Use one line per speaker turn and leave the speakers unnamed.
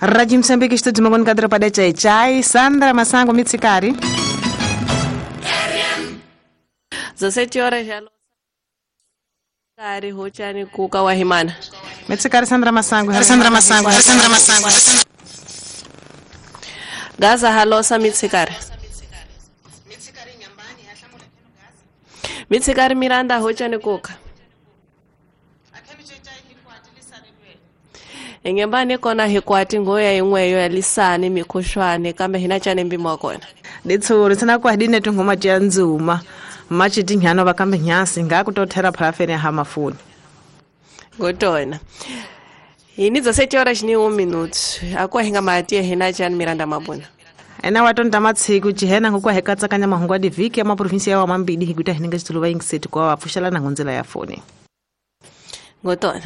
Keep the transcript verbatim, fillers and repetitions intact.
Rádio Moçambique, Estúdio Mangono Cadra Padé Chai Chai, Sandra Massango, Mitsikari.
dezessete horas já. Kari hochani kuka wahimana.
Mitsikari Sandra Massango, Sandra Massango, Sandra Massango.
Gaza halosa Mitsikari. Mitsikari Miranda hochani kuka. Ingembani kona hikwati ngoya ingweyo ya lisani mikushwane kambe hina chane mbimo kona.
Ditsuru tsina kwa dine tungoma tya nzuma. Machi tinhano bakambe nyasi ngakutothera parafene ha mafuni.
Gotona. Ini dezessete horas ni um minuto. Akwa hinga matia hina chane Miranda mabuna.
Ena watonda matsiku chihena ngokwa hekatsakanya mahungwa diviki ya maprovinsia wa mambidi hikuta hininga chituluba ingiseti kwa wapfushala na ngonzela ya foni.
Gotona.